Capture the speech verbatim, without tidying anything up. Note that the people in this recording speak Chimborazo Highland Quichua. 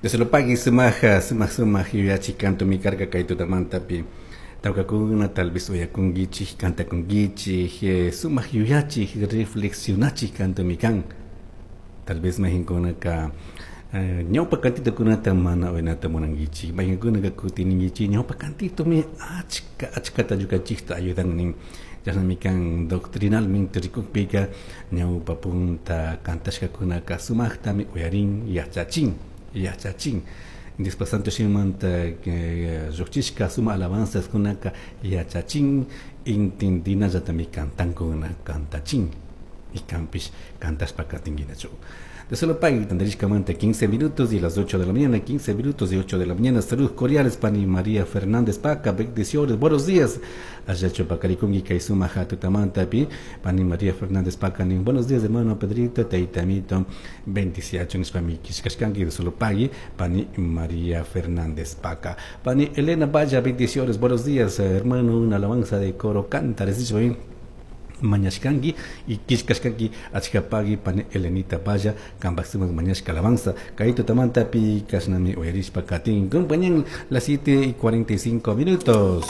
Dios lo pague sumaj sumaj sumaj yuyachik cantomi karka kay tutamantapi tawkakuna tal vez uyakunkichik kantakunkichik eh, sumaq yuyachik reflexionachik cantomi kan. Tal vez mayqinkunaka eh, ñawpa cantitokunata mana uyanata munankichik, mayqinkunaka kutininkichik ñawpa cantitomi achka achkata ñukanchikta ayudan nin. Chashnami kan doctrinalmente rikukpika ñawpa punta kantashkakunaka sumaqtami uyarin yachachin yachachin. Diospa Santo Shimimanta eh, lluqchishka suma alabanzas kunaka yachachin intindinallatami kantankuna kantachin y kanpish kantashpa katinkinachu. De solo pagui tantarishkamanta quince minutos y las ocho de la mañana, quince minutos y ocho de la mañana. Saludos cordiales, Pani María Fernández Paca, bendiciones, buenos días. Allacho Pacarikungi Kaisuma Hatutamanta pi, Pani María Fernández Paca, nin buenos días, hermano Pedrito, Teitamito, bendiciacho, nishpami kishkashkanki, de solo pagui, Pani María Fernández Paca. Pani Elena Vaya, bendiciones, buenos días, hermano, una alabanza de coro, canta, les dicho bien. Mañashkanki y kishkashkanki achkapagi pani Elenita Vaya kanpak sumak mañashka alabanza kay tutamantapi kashnami uyarishpa katin compañan las siete y cuarenta y cinco minutos.